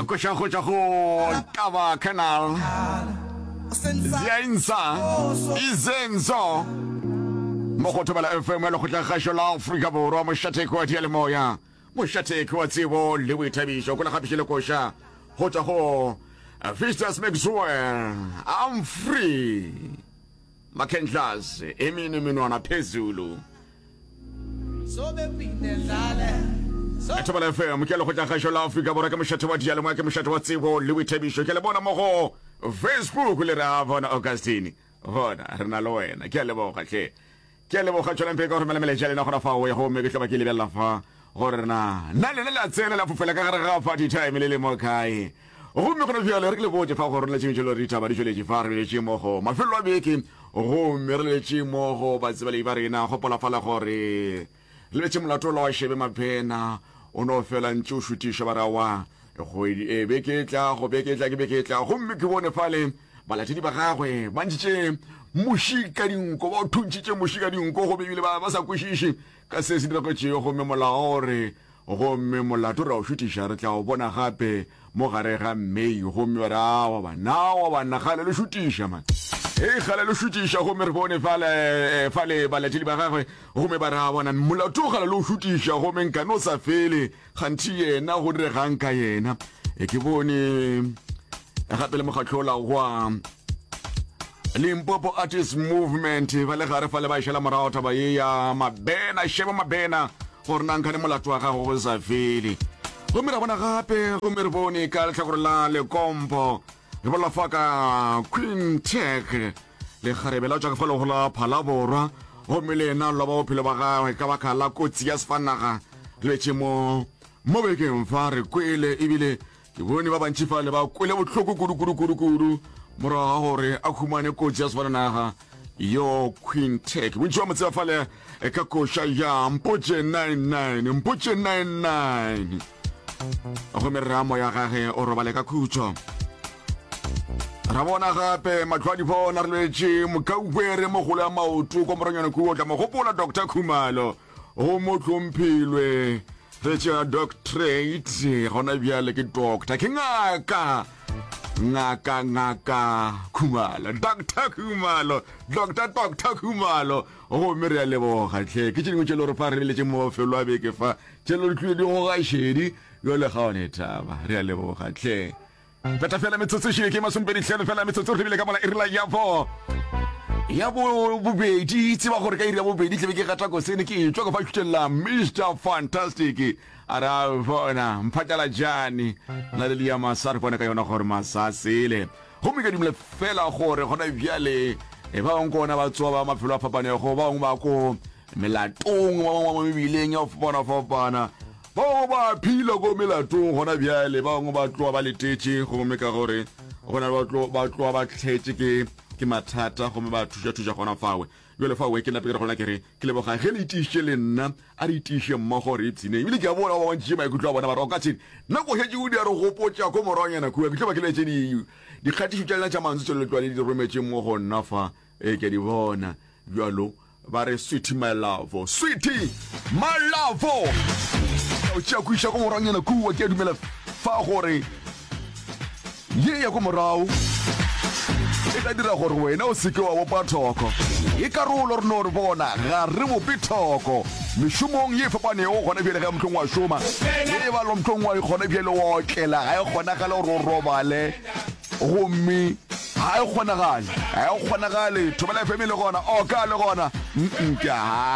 Koša go tšwa go Taba Canal. Ziainsa Izenzo mo go Thobela FM ya Lekgotlakgašo la Afrika Borwa, mošatheko wa diyalemoya, mošatheko wa tsebo le boithabišo. Kwela gape le koša go tšwa go Vistas Maxwell, I'm free. Makhendlas, emini menwana phezulu. Thobela FM ke lekgotlakgašo la Afrika Borwa, ke mošate wa diyalemoya, ke mošate wa tsebo le boithabišo. Ke le bona mo go Facebook le re a bona Augustine, bona re na le wena. Ke a leboga hle, ke a leboga. Tšwelang pele ka go romela melaetša ya lena gona fao, gomme ke tlo ba ke lebelela fa gore na na lena le a tsena la fofela ka gare ga party time le le mo kae. Gomme gona bjale re ke le botše fa gore letšeng tšelo ditaba di tšweletše fa re letše mo go mafelo a beke, gomme re letše mo go batsebalei ba rena. Gopola fala gore re letše molato ola wa Shebe Mabena o no fela ntše o šutiša ba re aowa kgwedi e beke e tlago, beke e tla ke beke e tlago. Gomme ke bone fale balatedi ba gagwe ba ntšhitše muši ka dinko, ba o thuntšhitše muši ka dinko, gomme ebile ba ba sa kwešiše ka se se diragetšego. Gomme molao o re Gomme molato re a o šutiša, re tla o bona gape mo gare ga May. Gomme ba re, Aowa banna, aowa banna, kgale le šutiša, man. Hei, kgale le šutiša. Gomme re bone fale, eh, fale balatedi ba gagwe, gomme ba re, A bona, molato kgale le o šutiša, gomme nkane o sa fele, kganthe yena go diregang ka yena? E, ke bone gape le mokgatlo ola wa Limpopo Artist Movement ba le gare fale ba e šala morago taba ye ya Mabena, Sheba Mabena, gore na nkhane molato wa gago go sa fele. Gomme ra bona gape, gomme re bone ka lehlakore la Lekompo, re bolela fa ka Queen Tech, lekgarebe la tšwa ka fa lego la Phalaborwa, gomme le yena loba bophelo ba gagwe ka baka la kotsi ya sefanaga. Re letše mo mo bekeng fa re kwele ebile Ke bone ba bantši fale ba kwele bohloko kudu kudu kudu kudu morago ga gore a humane kotsi ya sefatanaga yo Quintech. Bontši ba mo tseba fale eh, ka koša ya Mpotše 99, Mpotše 99. Gomme re ra moya gage o robale ka khutšo. Ra bona gape mahlo a dibona re lwetše mokauwere mogolo ya maoto kwa moranyana kua o tla mo gopola Doctor Khumalo go mo hlomphilwe Re tšea doctorate gona bjale ke doctor, ke ngaka, ngaka, ngaka Khumalo, Doctor Khumalo, Doctor, Doctor Khumalo. Gomme re a leboga hle. Ke tše dingwe tše le gore fa re leletše mo mafelo a beke fa, tše le tlile di goga šedi, bjale ga one taba. Re a leboga hle. Peta fela metsotso šile ke masomepedi hlano fela metsotso re bile ka mola iri ya bo ya bo bobedi tseba gore ka iri ya bobedi tlebe ke gata kosene ke etšwa ka fa šutelela Mr Fantastic a re a bona mphatšala jane na le ya masa re bone ka yona gore masa sele gomme ke dumela fela gore gona bjale e ba bangwe kona ba tsoa ba mafelo a fapanego ba bangwe ba ko melatong ba bangwe ba mebileng ya go fapana fapana Ba bangwe ba phila ko melatong gona bjale, ba bangwe ba tloga ba letetše, gomme ka gore go na le ba ba tloga ba tletše ke ke mathata, gomme ba thuša-thuša gona fawe. Bjale fawe ke nape ke re gona ke re ke leboga ge le itišitše le nna, a re itiše mmogo re ipshineng. Ebile ke a bona ba bantšitše maikutlo a bona ba re o ka tšhene nako šetše o di a re gopotša ko moragonyana kua, ke tlo ba ke letše di dikgatišo tša lena tša mantswe tše le tloga le di rometše mo go nna fa, ee ke a di bona bjalo. Ba re sweetie my love, sweetie my love. O tšea ko iša ko moranyana kua, ke a dumela fa gore ye ya ko morago e tla dira gore wena o seke wa bopa thoko. E karolo re no re bona ga re bope thoko mešomong ye e fapanego gona bjale ge mohlong wa šoma ge e ba lo mohlong wa gona bjale wa otlela ga e kgonagale gore o robale Gomme ga e kgonagale, ga e kgonagale. Thobela FM e le gona, Oka le gona. Mm-mm, ke a.